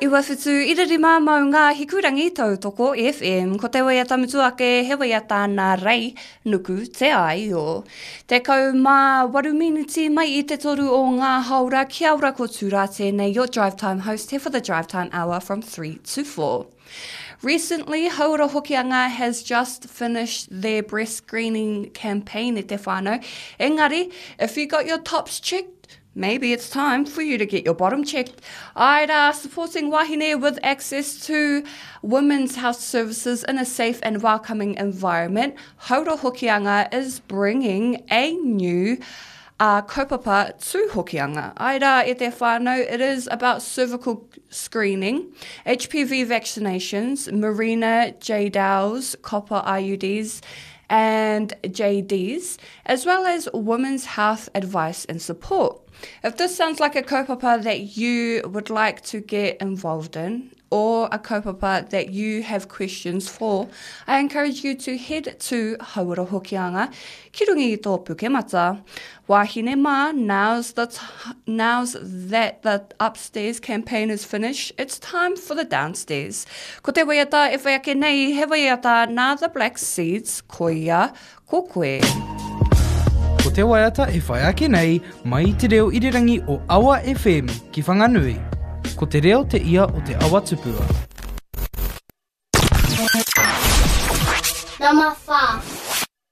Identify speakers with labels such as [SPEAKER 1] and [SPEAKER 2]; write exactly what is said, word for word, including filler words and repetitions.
[SPEAKER 1] Iwa whitu ira rima maunga Hikurangi Tautoko FM. Ko te waiata mutu ake he waiata nā Rei Nuku Te Aio. Tekau mā waru miniti mai i te toru o ngā haora kia ora ko Tūrā tēnei, your drive time host here for the drive time hour from three to four. Recently, Hauora Hokianga has just finished their breast screening campaign e te whānau. Engari, if you got your tops checked, maybe it's time for you to get your bottom checked. Aira, supporting wahine with access to women's health services in a safe and welcoming environment, Hauora Hokianga is bringing a new uh, kaupapa to Hokianga. Aira, e te whānau, it is about cervical screening, H P V vaccinations, Mirena Jadelles, copper I U Ds, and J Ds, as well as women's health advice and support. If this sounds like a kaupapa that you would like to get involved in, or a kaupapa that you have questions for, I encourage you to head to Hauora Hokianga, ki runga i tō pukemata. Wahine mā, now's, the t- now's that the upstairs campaign is finished, it's time for the downstairs. Ko te waiata e whai ake nei, he waiata nā The Black Seeds, koia, ko koe.
[SPEAKER 2] Ko te waiata e whai ake nei, mai i te reo irirangi o Awa F M ki Whanganui. Ko te reo te ia o te awa tupua.
[SPEAKER 3] Number five.